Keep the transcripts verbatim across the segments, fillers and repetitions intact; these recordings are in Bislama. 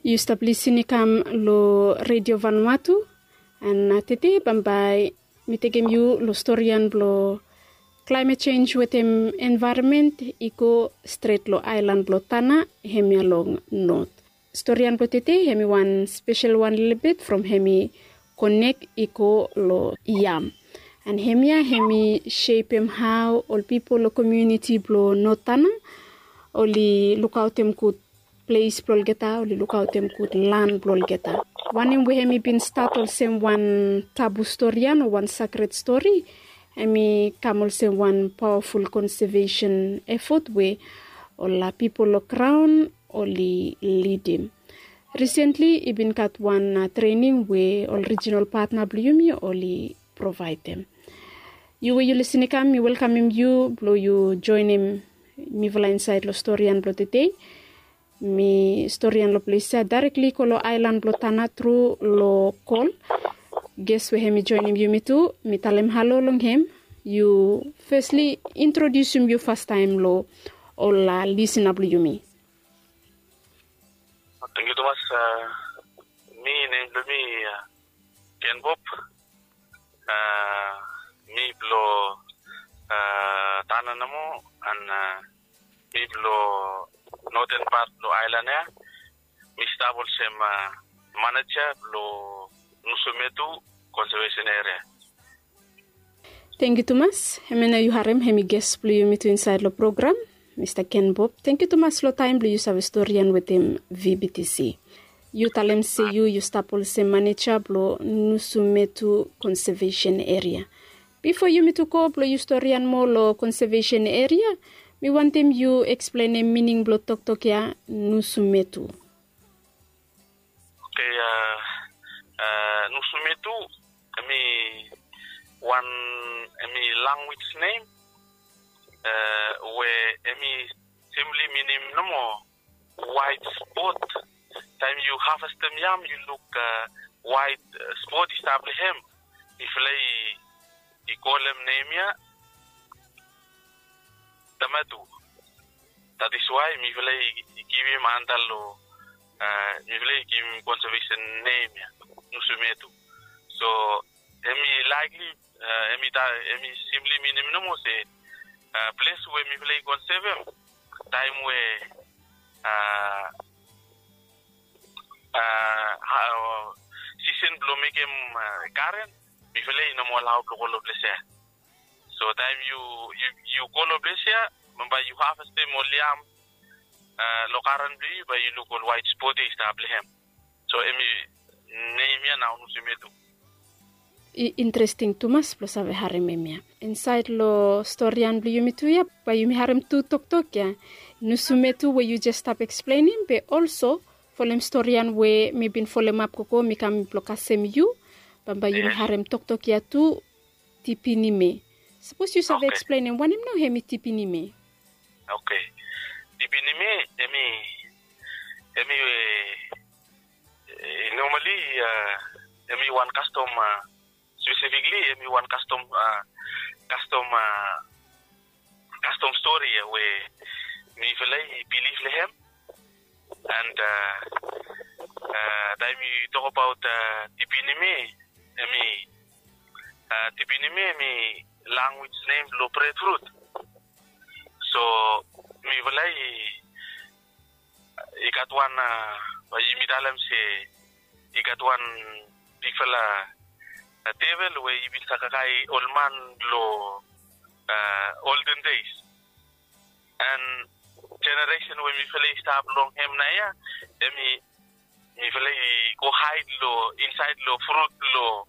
Yu stap lisin i kam long Redio Vanuatu, and tede bambae mi tekem yu long storian blong klaimet sens wetem envaeronmen i go stret long aelan blong Tana, hemia long not. Storian blong tede hem i wan spesel wan lelebet from hem i konek i go long yam. And hemia hem i sepem hao ol pipol long komuniti blong Not Tana oli lukaotem gud ples blong olgeta, oli lukaotem gud lan blong olgeta. Wanem we hem i bin stat olsem wan tabu storian o wan sakred stori, hem i kam olsem wan pawaful konsevesen efot we ol pipol long graon oli lidim. Risentli i bin gat wan trening we ol rijinal patna blong yumi oli provaedem. Yu we yu lisin i kam, mi welkamem yu blong yu joenem mifala insaed long storian blong tede. Mi storian long ples ya daerekli go long aelan blong Tana tru long kol. Ges we hem i joenem yumi tu, mi talem halo long hem. Yu fesli introdiusim yu fastaem long ol lisina blong yumi. Tangkiu tumas. Mi nem blong mi Ken Bob. Mi blong Tana nomo, and mi blong noten pat blong aelan ya. Mi stap olsem maneja blong Nusumetu Konseveisen Eria. Tangkiu tumas. Hemia nao yu harem hem i ges blong yumi tu insaed long program, Mista Ken Bob. Tangkiu tumas long taem blong yu save storian wetem VBTC. Yu talem se yu yu stap olsem maneja blong Nusumetu Konsevesen Eria. Bifo yumi tu go blong yu storian moa long konsevesen eria, mi wantem yu eksplenem mining blong toktok ya, nusumetu. Oke, nusumetu hemi wan, hemi lanwis nem we hemi simpli minim nomo waet spot. Taem yu havestem yam yu luk waet spot i stap long hem. Mifala i kolem nem ya tomato. That is why mifala i givim anda long, mifala i givim konsevesen nem ya, nusumetu. So hemi likely, hemi simpli minim nomo se ples we mifala i konsevem taem we sisen blong mekem garen, mifala i no moa alaod blong go long ples ya. So taem yu go long ples ya, bambae yu havestem ol yam long garen blong yu, bae yu luk ol waet spot ya i stap long hem. So hemi nem ya nao nusumetu. I interesting tumas blong save harem hemia. Insaed long storian blong yumi tu ya bae yumi harem tu toktok ya, nusumetu we yu jes stap eksplenem, be olso folem storian we mi bin folemap gogo mi kam blong kasem yu, bambae yumi harem toktok ya tu, tipinime. Sapos yu save eksplenem wanem nao hemi tipinime? Oke. Tipinime hemi, hemi normali hemi wan kastom, spesifikli hemi wan kastom, kastom kastom stori ya we mifala i bilif long hem. And taem yu tokabaot tipinime, hemi tipinime hemi lanwis nem blong bredfrut. So mifala i i gat wan, bae yumi talem se i gat wan bigfala devel we i bin save kakae ol man long olden des. And jeneresen we mifala i stap long hem naoia, hemi mifala i go haed long insaed long frut blong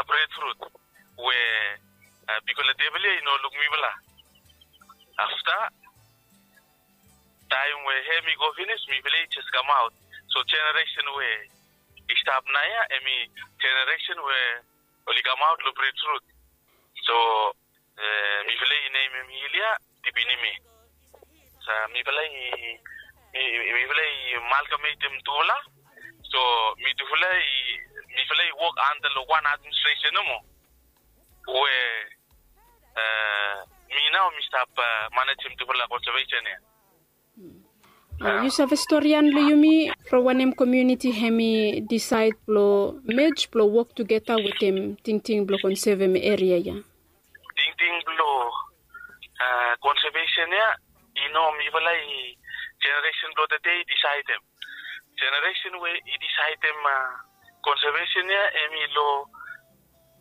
bredfrut we bigfala devel ya i no luk mifala. Afta taem we hem i go finis, mifala i jes kamaot. So jeneresen we i stap naoia hemi jeneresen we oli kamaot long bredfrut. So mifala i nemem hil ya tipinime. Sa mifala i, mifala i malkametem tufala. So mitufala i, mifala i wok anda long wan administresen nomo we mi nao mi stap manejem tufala konsevesen ya. Yu save storian long yumi from wanem komuniti hem i disaed blong mej blong wok tugeta wetem tingting blong konsevem eria ya? Tingting blong konsevesen ya i no mifala i jeneresen blong tede i disaedem. Jeneresen we i disaedem konsevesen ya em i long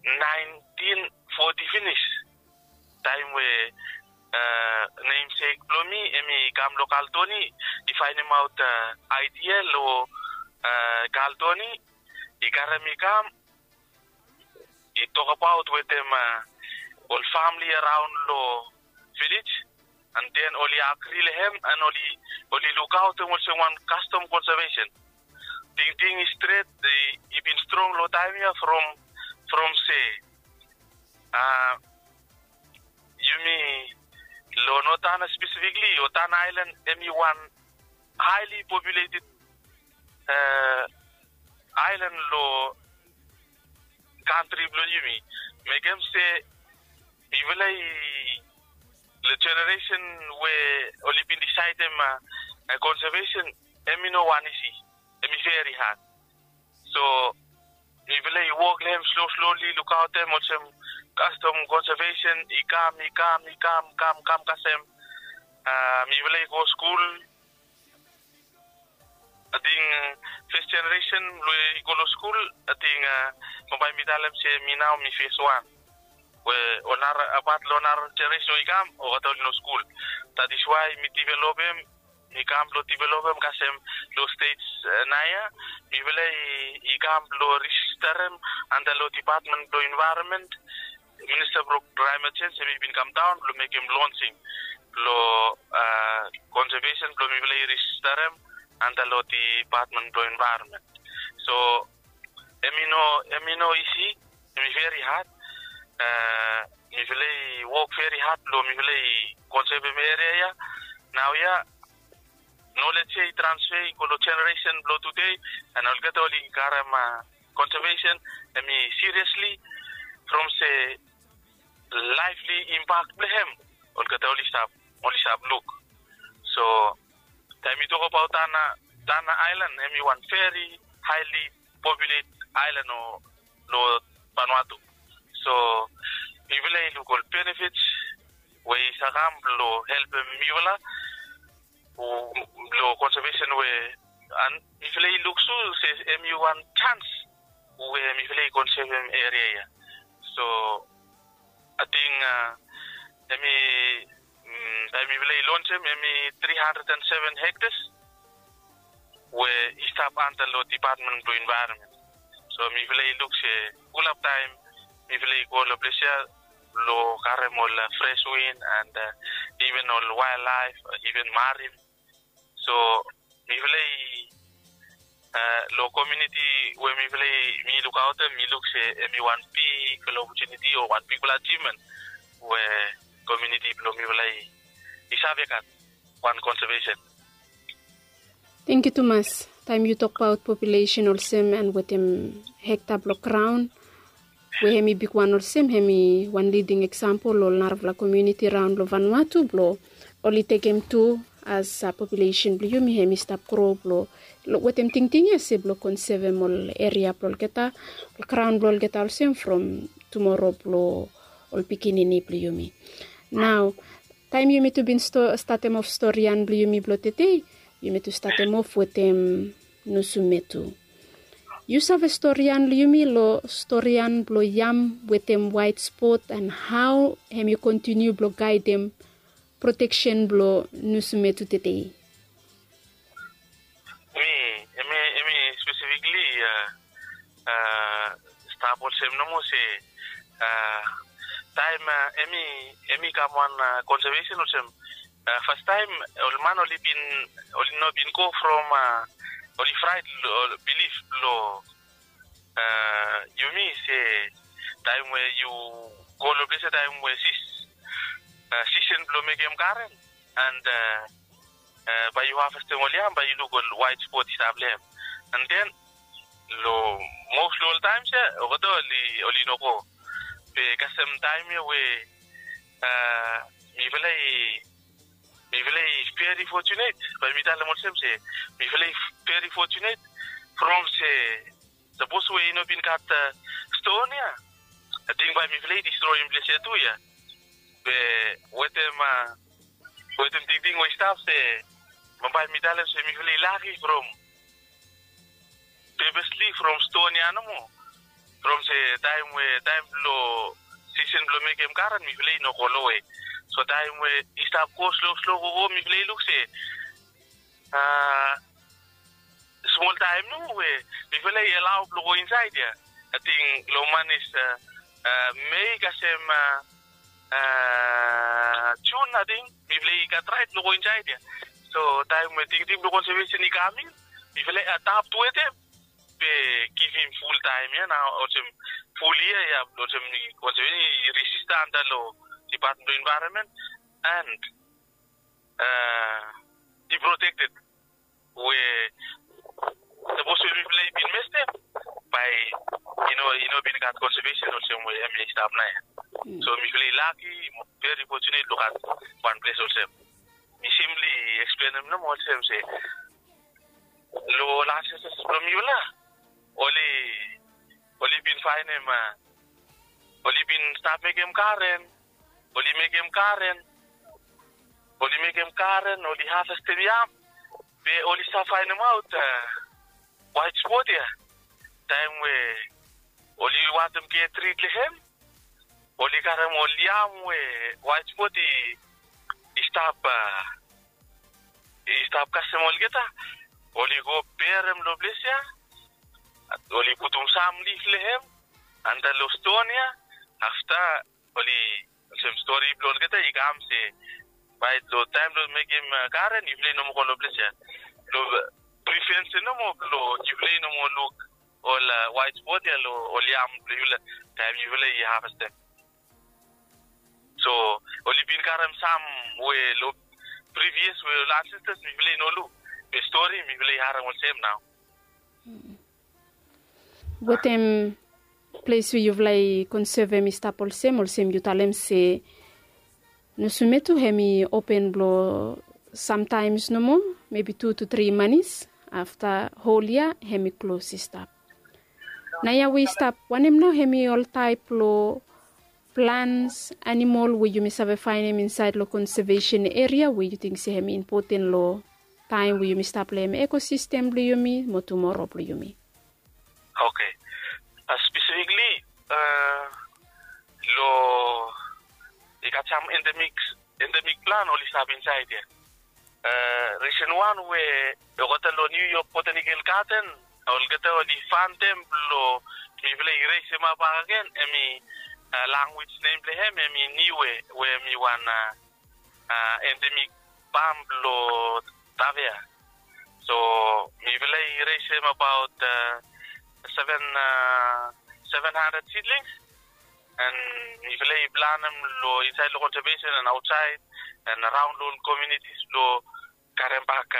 naentin foti finis, taem we nemsek blong mi em i kam long Kaltoni, i faenemaot aidia long Kaltoni, i karem i kam, i tokbaot wetem ol famili araon long vilej, an den oli agri long hem an oli lukaotem olsem wan kastom konsevesen. Tingting i stret, i bin strong long taem ya from from se yumi long Notana spesifikli o Tana Aelan em i wan haeli populeted aelan long kantri blong yumi. Mekem se mifala i long jeneresen we oli bin disaedem konsevesen em i no wan isi, em i veri had. So mifala i wok long hem slo sloli lukaotem olsem kastom konsevesen i kam i kam i kam kam kam kasem mifala i go skul. Ating fes jeneresen blong i go long skul, ating bambae mi talem se mi nao mi fes wan we ol nara apat long nara jeneresen we i kam olgeta oli no skul. That is why mi divelopem, mi kam blong divelopem kasem long stej naoia mifala i kam blong rejisterem anta long dipatmen blong envaeronmen. Minista blong klaemet jenj em i bin kamdaon blong mekem lonsing blong konsevesen blong mifala i rejisterem anta long dipatmen blong envaeronmen. So em i no em i no isi, em i veri had. Mifala i wok veri had blong mifala i konsevem eria ya. Naoia nolej ya i transfe i go long jeneresen blong tude, an olgeta oli karem konsevesen em i siriesli from se laefli impak blong hem olgeta oli stap oli stap luk. So taem yu tokbaot Tana Tana Aelan em i wan veri haeli populet aelan long Vanuatu. So mifala i luk ol benefits we i sa kam blong helpem mifala long konsevesen we an mifala i luk su se em i wan jans we mifala i konsevem eria ya. So ating em i taem mifala i lonsem em i tri handred an seven hektas we i stap anta long dipatmen blong envaeronmen. So mifala i luk se fulap taem mifala i go long ples ya blong karem ol fres win an iven ol wael laef, iven marim. So mifala i long komuniti we mifala i mi lukaotem mi luk se em i wan bigfala opotuniti o wan bigfala ajivmen we komuniti blong mifala i save gat wan konsevesen. Tangkiu tumas. Taem yu tokbaot populesen olsem an wetem hekta blong graon we hem i bigwan olsem hem i wan liding eksampol long narafala komuniti raon long Vanuatu blong oli tekem tu as populesen blong yumi hem i stap gro blong wetem tingting ya se blong konsevem ol eria blong olgeta, ol graon blong olgeta olsem from tumoro blong ol pikinini blong yumi. Nao taem yumi tu bin statem of storian blong yumi blong tede, yumi tu statem of wetem nusumetu. Yu save storian long yumi long storian blong yam wetem waet spot an hao hem i kontiniu blong gaedem proteksen blong nusumetu tede? Mi em i em i spesifikli stap olsem nomo se taem em i em i kam wan konsevesen olsem fastaem ol man oli bin oli no bin go from oli fraet bilif blong yumi se taem we yu go long ples ya taem we sis sisen blong mekem garen and bae yu havestem ol yam bae yu luk ol waet spot i stap long hem. And then long mos long ol taems ya olgeta oli oli no go. Be kasem taem ya we mifala i mifala i very fortunate, bae mi talem olsem se mifala i very fortunate from se sapos we i no bin gat ston ya, ating bae mifala i distroem ples ya tu ya. Be wetem wetem tingting we i stap se, bae mi talem se mifala i laki from purposely from ston ya nomo. From se taem we taem blong sisen blong mekem karen mifala i no go lowe. So taem we i stap go slo slo gogo mifala i luk se a smol taem nomo we mifala i alau blong go insaed ya. Ating long manis Mei kasem Jun ating mifala i gat raet blong go insaed ya. So taem we tingting blong konsevesen i kam in, mifala i adapt wetem be givim ful taem ya nao olsem ful yia ya olsem konsevesen i rejista anda long Department blong Environment and i protected. We sapos we mifala i bin mestem, bae i no i no bin gat konsevesen olsem we hemia i stap naoia. So mifala i laki, very fortunate long gat wan ples olsem. Mi simply eksplenem nomo olsem se long ol ancestors blong mifala oli oli bin faenem oli bin stap mekem karen, oli mekem karen, oli mekem karen, oli havestem yam. Be oli stap faenemaot waet spot ya taem we oli wantem get rid long hem. Oli karem ol yam we waet spot i stap i stap kasem olgeta. Oli go berem long ples ya. Oli putum sam lif long hem anda long ston ya. Afta oli olsem stori blong olgeta i kam se bae long taem blong mekem karen yufala i no moa go long ples ya. Long prevent nomo blong yufala i no moa luk ol waet spot ya long ol yam blong yufala taem yufala i havestem. So oli bin karem sam we long previous we ol ancestors mifala i no luk. Be stori mifala i harem olsem nao. Wetem ples we yufala i konsevem i stap olsem olsem yu talem se Nosumetu hem i open blong samtaems nomo, mebi tu tu tri manis. Afta hol yia hem i klos i stap. Naoia we i stap wanem nao hem i ol taep blong plans, animol we yumi save faenem insaed long konsevesen eria we yu ting se hem i impoten long taem we yumi stap long hem ekosistem blong yumi mo tumoro blong yumi? Oke. Spesifikli long i gat sam endemik endemik plan oli stap insaed ya. Risen wan we olgeta long New York Botanical Garden olgeta oli fantem blong mifala i resemap bakegen hem i lanwis nem blong hem hem i niue we hem i wan endemik pam blong Tavea. So mifala i resem abaot seven seven hundred seedlings and mifala i planem long insaed long konsevesen and aotsaed and araon long ol komunitis blong karem bak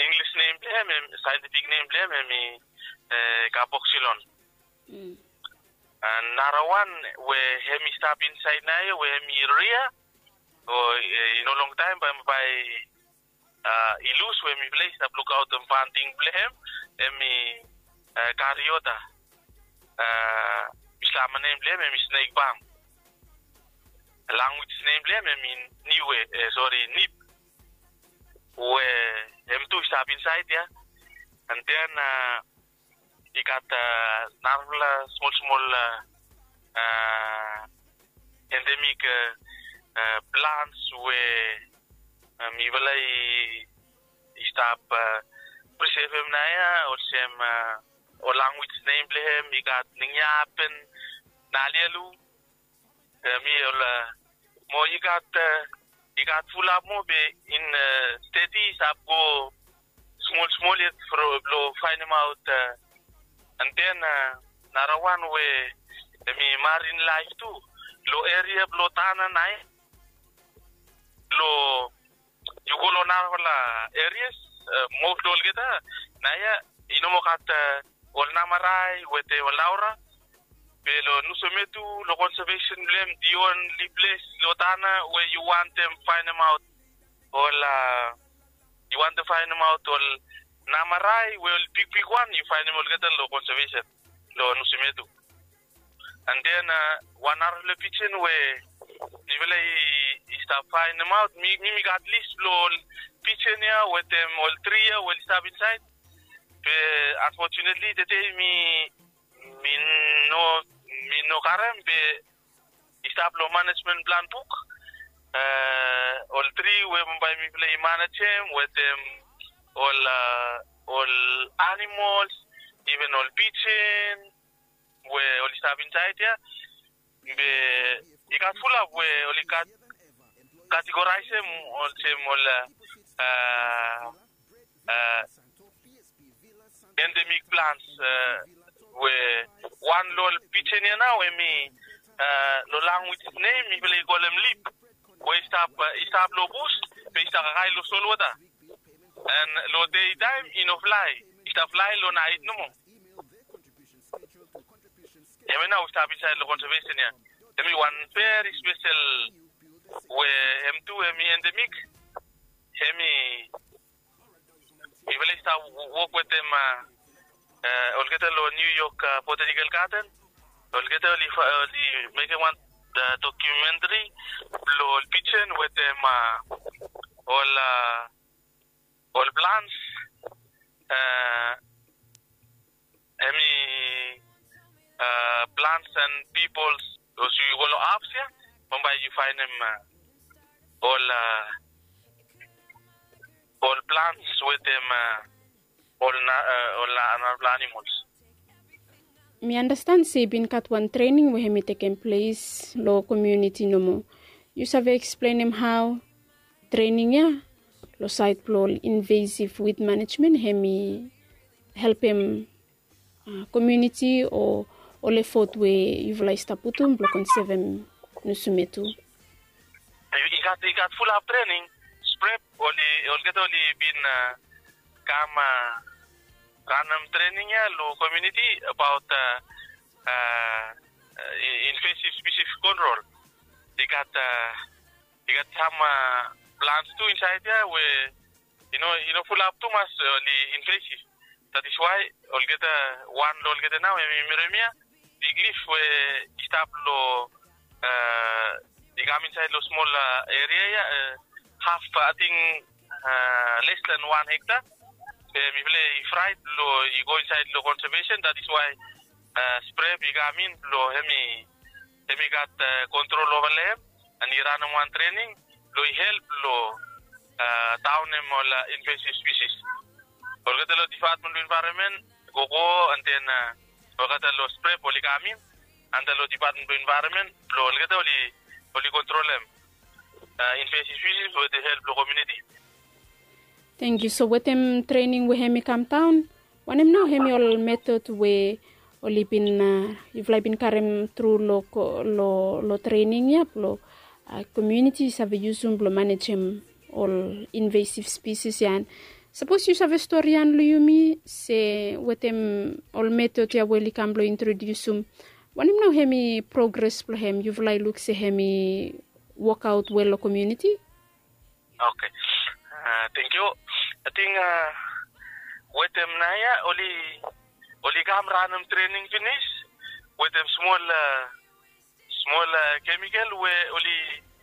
Inglis nem blong hem, saentifik nem blong hem hem i kaboxilon. Narawan we hem i stap insaed naoia we hem i ria o i no longtaem bae bae i lus we mifala i stap lukaotem fanting blong hem hem i kariota. Bislama nem blong hem hem i snek bam. Lanwis nem blong hem hem i niwe sori nip we hem tu i stap insaed ya. And then i gat narafala smol smol endemik plants we mifala i stap prisevem naoia olsem ol lanwis nem blong hem i gat ningiapen, nalialu, mi ol mo i gat i gat fulap mo be in steti i stap go smol smol yet blong faenemaot. And then narawan we hem i marin laef tu long eria blong Tana naoia. Long yu go long narafala erias most long olgeta naoia i no moa gat ol namarae wetem ol naora. Be long Nusumetu long conservation blong hem, the only place long Tanna we yu wantem faenemaot ol, yu wantem faenemaot ol namarai we ol bigbigwan, yu faenem olgeta long conservation long Nusumetu. And then wan narafala pijen we mifala i stap faenemaot, mi mi gat lis blong ol pijen ya wetem ol tri ya we oli stap insaed. Be unfortunately tede mi mi no mi no karem, be i stap long manejmen plan buk ol tri we bambae mifala i manejem wetem ol ol animols, iven ol pijen we oli stap insaed ya. Be i gat fulap we oli gat kategoraesem olsem ol endemik plants, we wan long ol pijen ya nao hemi long lanwis nem mifala i kolem lip, we i stap i stap long bus, be i stap kakae long solwota. And long dei taem i no flae, i stap flae long naet nomo. Hemia nao we i stap insaed long conservation ya, hemi wan veri spesel we hem tu hemi endemik. Hemi mifala i stap wok wetem olgeta long New York Botanical Garden. Olgeta oli mekem wan documentary blong ol pijen wetem ol ol plants. Hemi plants and peoples, olsem yu go long apps ya, bambae yu faenem ol ol plants wetem ol ol narafala animols. Mi andastan se i bin gat wan trening we hemi tekem ples long komuniti nomo. Yu save eksplenem hao trening ya long saed blong ol invasiv wid manejmen hemi helpem komuniti o ol efot we yufala i stap putum blong konsevem Nusumetu? I gat i gat fulap trening. Sprep oli olgeta oli bin kam ranem trening ya long komuniti abaot invasiv species control. I gat i gat sam plants tu insaed ya we i no i no fulap tumas oli invasiv. That is why olgeta wan long olgeta nao hemi miremia, big leaf we i stap long i kam insaed long smol eria ya, haf ating les than wan hekta. Be mifala i fraet long i go insaed long conservation, that is why sprep i kam in blong hemi hemi gat kontrol ova long hem. And i ranem wan trening blong i help long daonem ol invasiv species. Olgeta long Department blong Environment, gogo, and then olgeta long sprep oli kam in anda long Department blong Environment blong olgeta oli oli kontrolem invasiv species wetem help blong komuniti. Tangkiu. So wetem trening we hemi kam daon, wanem nao hemi ol metod we oli bin yufala i bin karem tru long trening ya blong komuniti i save yusum blong manejem ol invasiv species ya? And sapos yu save storian long yumi se wetem ol metod ya we oli kam blong introdiusum, wanem nao hemi progres blong hem, yufala i luk se hemi wokaot wel long komuniti? Oke. Tangkiu. Ating wetem naoia oli oli kam ranem trening finis wetem smol smol kemikel we oli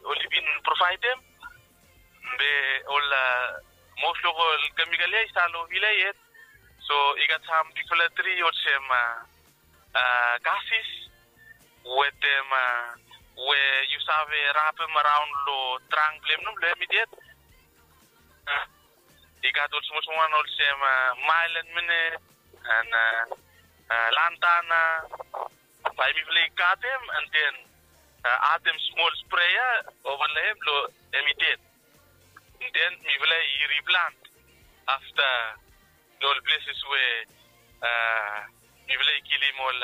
oli bin provaedem. Be ol mos long ol kemikel ya i stap long vila yet. So i gat sam bigfala tri olsem kasis wetem we yu save rapem araon long trang blong hem nomo long hem i ded. I gat ol smosmol wan olsem mael and minet and lantana. Bae mifala i katem and then adem smol sprea ova long hem blong hem i ded. And then mifala i riplant afta long ol pleses we mifala i kilim ol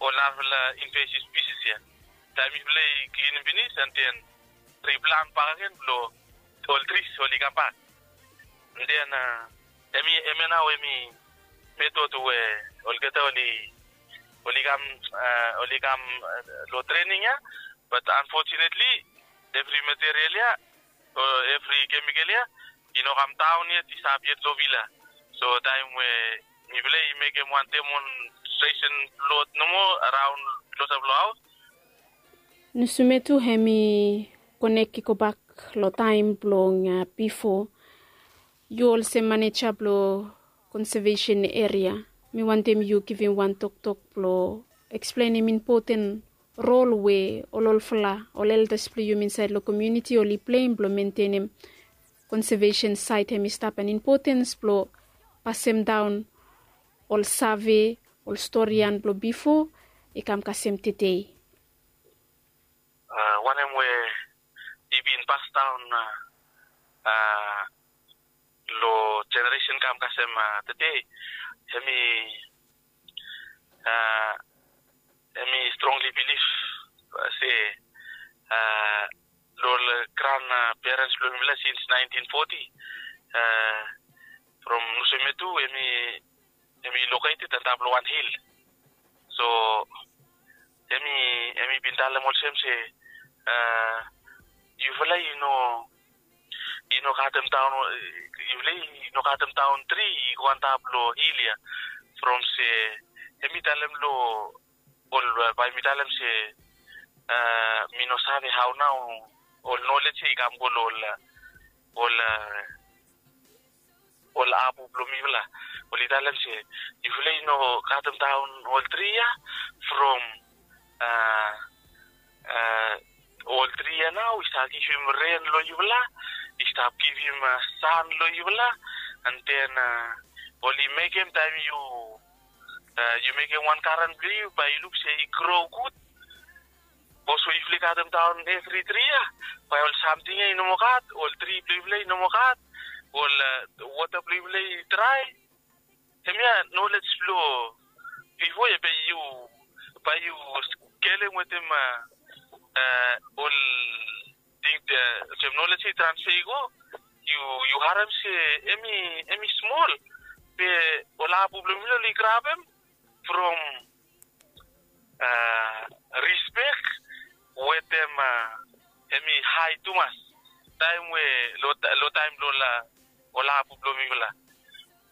ol narafala invasiv spisis ya. Taem mifala i klinim finis and then riplant bakegen blong ol tris oli kambak. And then hemia nao hemi metod we olgeta oli oli kam, oli kam long trening ya. Bat anfotunetli evri material ya o evri kemikal ya i no kam daon yet, i stap yet long vila. So taem we mifala i mekem wan demonstresen blot nomo araon klosap long haos. Nusumetu hem i konek i gobak long taem blong bifo. Yu olsem maneja blong konsevesen eria, mi wantem yu givim wan toktok blong eksplenem impoten rol we ol olfala ol eldas blong yumi insaed long komiuniti oli pleim blong mentenem konsevesen saet hem i stap, an impotens blong pasemdaon ol save, ol storian blong bifo i kam kasem tedei. Wanem we i bin pasdaon long jeneresen kam kasem tedei, hem i hem i strongli bilif se long ol gran perens blong mifala sins naentin foti, from Nusumetu hem i hem i loketed antap long wan hil. So hem i hem i bin talem olsem se yufala i no i no katem daon, yufala i no katem daon tri i go antap long hil ya. From se hem i talem long ol, bae mi talem se mi no save hao nao ol nolej ya i kam go long ol ol ol apu blong mifala. Oli talem se yufala i no katem daon ol tri ya from ol tri ya nao i stap givim ren long yufala, i stap givim san long yufala. An den oli mekem taem yu yu mekem wan garen blong yu bae yu luk se i gro gud. Bikos we yufala i katem daon evri tri ya, bae ol samting ya i no moa gat, ol tri blong yufala i no moa gat, ol wota blong yufala i drae. Hemia nolej blong bifo ya bae yu bae yu skelem wetem ol ting, olsem nolej ya i transfe i go, yu yu harem se hem i hem i smol. Be ol apu blong yufala oli grabem from rispek wetem hem i hae tumas. Taem we long taem blong ol apu blong mifala,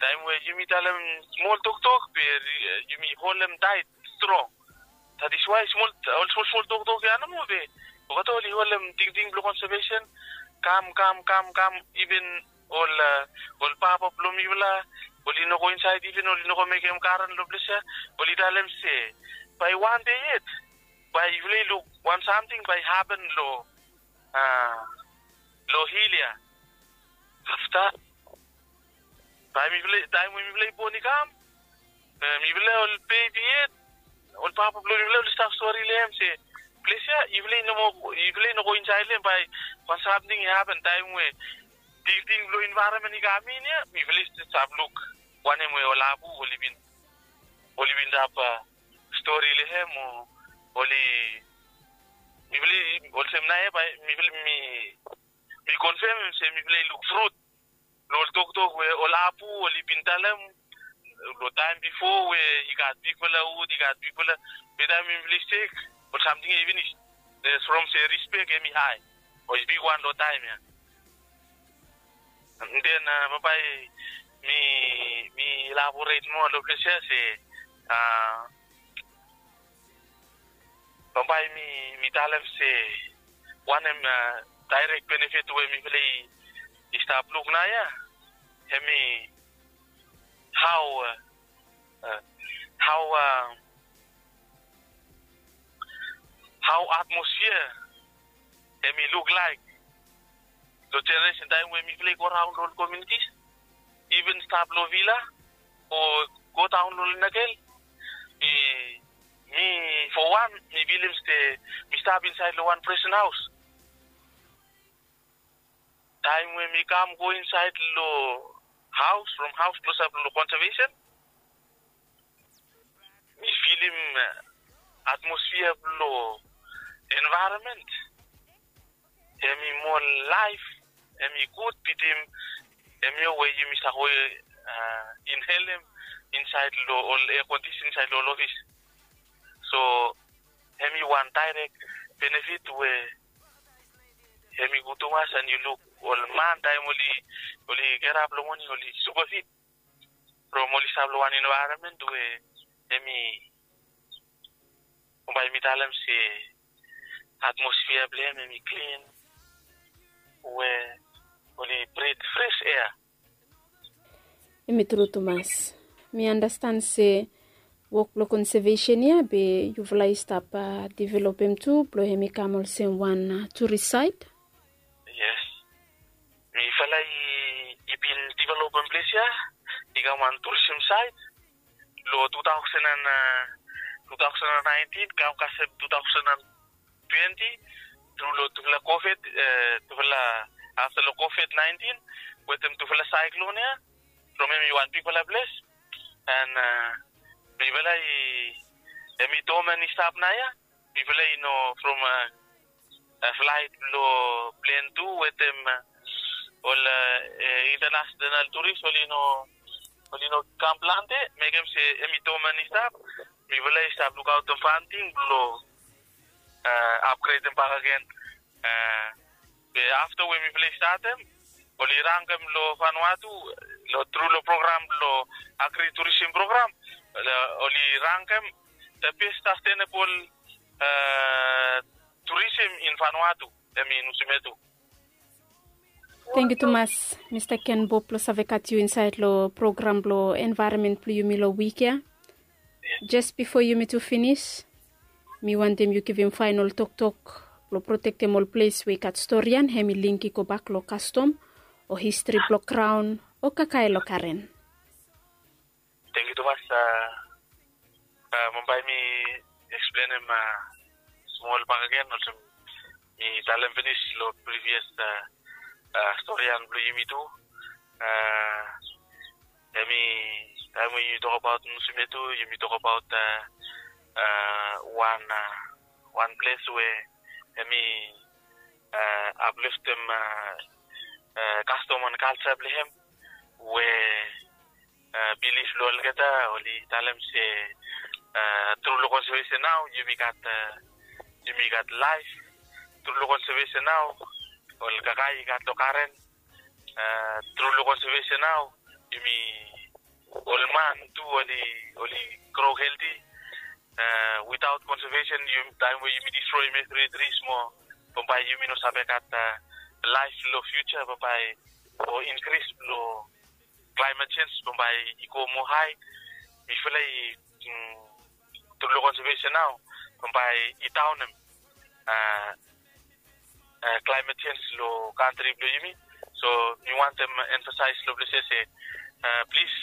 taem we yumi talem smol toktok be yumi holem taet strong. That is why smol ol smol smol toktok ya nomo be olgeta oli holem tingting blong konsevesen. Kam kam kam kam, iven ol ol papa blong mifala oli no go insaed, iven oli no go mekem garen long ples ya. Oli talem se bae wan dei yet bae yufala i luk wan samting bae i hapen long long hil ya. Afta bae mifala, taem we mifala i bon i kam, mifala ol bebi yet, ol papa blong mifala oli stap stori long hem se ples ya yufala i no moa, yufala i no go insaed long hem bae wan samting i hapen. Taem we tingting blong envaeronmen i kam in ya, mifala i stap luk wanem we ol apu oli bin oli bin stap stori long hem o oli mifala i olsem nao ya bae mifala mi mi konfemem se mifala i luk frut long ol toktok we ol apu oli bin talem long taem bifo we i gat bigfala wud, i gat bigfala, be taem mifala i stek ol samting ya i finis. From se rispek hem i hae o i bigwan long taem ya. Den bambae mi mi elaboret moa long ples ya se bambae mi mi talem se wanem daerek benefit we mifala i stap luk nao ya, hem i hao hao hao atmosfia hem i luk laek long jeneresen taem we mifala i go raon long ol komiunitis, iven stap long vila o godaon long Lenakel. Mi mi fo wan mi bilif se mi stap insaed long wan presen haos. Taem we mi kam go insaed long haos, from haos klosap long konsevesen, mi filim atmosfia blong envaeronmen hem i moa laef, hem i gud bitim hemia we yumi save go inhelem insaed long ol ea kondisen insaed long ol ofis. So hemi wan daerek benefit we hemi gud tumas. And yu luk ol man taem oli oli gerap long moning oli super fit from oli stap long wan envaeronmen we hemi bae mi talem se atmosfia blong hem hemi klin we oli brit fres ea. Hemi tru tumas. Mi andastan se wok blong konsevesen ya be yufala i stap developem tu blong hemi kam olsem wan turis saet. Yes. Mifala i bin developem ples ya i kam wan turism saet long two thousand and two thousand and nineteen kam kasem two thousand and twenty tru long tufala covid, tufala afta long covid nineteen wetem tufala saeklon ya from hem i wan bigfala ples. And mifala i hem i domen i stap naoia. Mifala i no from flaet blong plen tu wetem ol internasenal turis oli no oli no kam plante mekem se hem i domen i stap. Mifala i stap lukaotem fanting blong apgredem bakegen. Be afta we mifala i statem oli rangem long Vanuatu long tru long program blong agri turism program oli rangem the best sustainable turism in Vanuatu. Hem i Nusimetu. Tangkiu tumas Mista Ken Bob blong save gat yu insaed long program blong envaeronmen blong yumi long wik ya. Jes bifo yumi tu finis, mi wantem yu givim faenol toktok blong protektem ol ples we i gat storian hem i link i gobak long kastom o histri blong graon o kakae long karen. Tangkiu tumas. Bambae mi eksplenem smol bakegen olsem mi talem finis long privias storian blong yumi tu. Hem i taem we yumi tokabaot Nusimetu yumi tokabaot wan wan ples we hem i apliftem kastom and kalja blong hem we bilif blong olgeta oli talem se tru long konsevesen nao yumi gat yumi gat laef. Tru long konsevesen nao ol kakae i gat long karen. Tru long konsevesen nao yumi ol man tu oli oli gro helti. Witaot konsevesen taem we yumi distroem evri tris mo bambae yumi no save gat laef long fiuja bambae o inkris blong klaemet sens bambae i go moa hae. Mifala i tru long konsevesen nao bambae i daonem klaemet sens long kantri blong yumi. So mi wantem emfasaes long ples ya se plis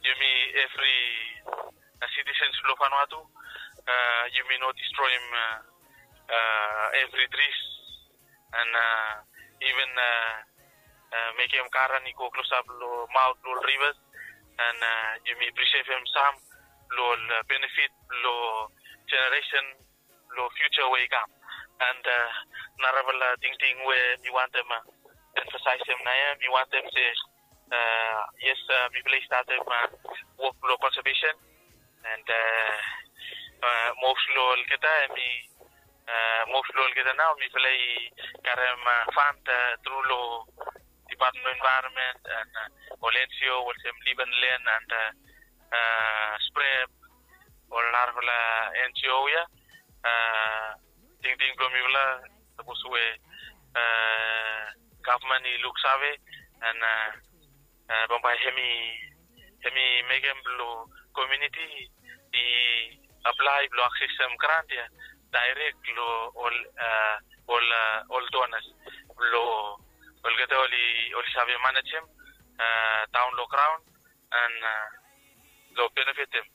yumi evri sitisens blong Vanuatu yumi no distroem evri tris and iven mekem karen i go klosap long maot blong ol rivas and yumi prisevem sam blong ol benefit blong jeneresen blong fiuja we i kam. And narafala tingting we mi wantem emfasaesem naoia mi wantem se yes mifala i statem wok blong konsevesen and mos long olgeta hem i mos long olgeta nao mifala i karem fan tru long Department of Environment and ol NGO olsem Live and Learn and Sprep ol narafala NGO ya. Tingting blong mifala sapos we gavman i luksave and bambae hem i hem i mekem blong komuniti i aplae blong aksesem grant ya daerek long ol ol ol donas blong olgeta oli oli save manejem daon long graon and long benefitem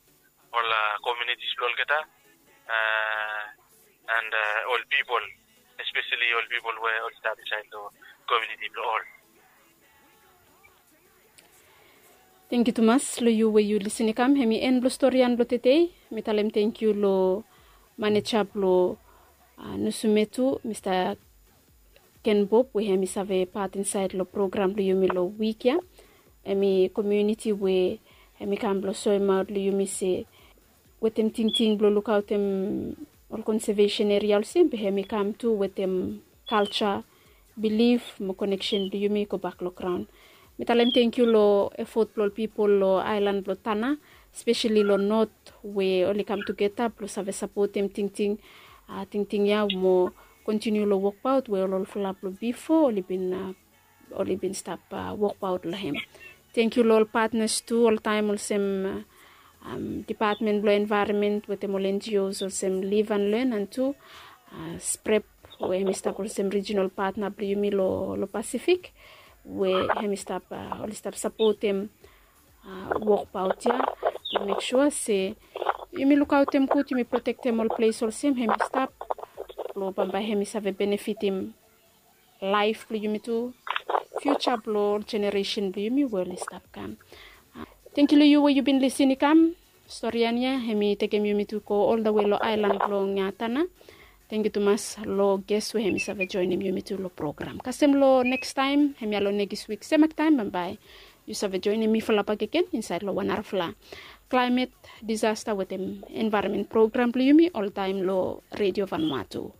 ol komunitis blong olgeta and ol pipol espeseli ol pipol we oli stap insaed long komuniti blong ol. Tangkiu tumas long yu we yu lisin i kam hem i en blong storian blong tedei. Mi talem tangkiu long maneja blong Nusumetu Mista Ken Bob we hem i save pat insaed long program blong yumi long wik ya. Hem i komuniti we hem i kam blong soemaot long yumi se wetem tingting blong lukaotem ol konsevesen eria olsem be hem i kam tu wetem kalja, bilif mo koneksen blong yumi i gobak long graon. Mi talem tengkiu long efot blong ol pipol long aelan blong Tanna, speseli long not, we oli kam tugeta blong save sapotem tingting, tingting ya mo kontiniu long wokbaot we ol olfala blong bifo oli bin oli bin stap wokbaot long hem. Tengkiu long ol patnas tu oltaem olsem dipatmen blong envaeronmen wetem ol NGOs olsem Live and Learn and tu Sprep, we hem i stap olsem rijinal patna blong yumi long Pasifik, we hem i stap oli stap sapotem wokbaot ya blong mek sua se yumi lukaotem gud, yumi protektem ol ples olsem hem i stap, blong bambae hem i save benefitim laef blong yumi tu, fiuja blong ol jeneresen blong yumi we oli stap kam. Tengkiu long yu we yu bin lisin i kam. Stori ya hem i tekem yumi tu go oldawe long aelan blong Tanna. Tengkiu tumas long ges we hem i save joenem yumi tu long program. Kasem long nekstaem hemia long nekis wik semak taem, bambae yu save joenem mifala bakegen insaed long wan narafala klaemet, disasta wetem envaeronmen program blong yumi oltaem long Redio Vanuatu.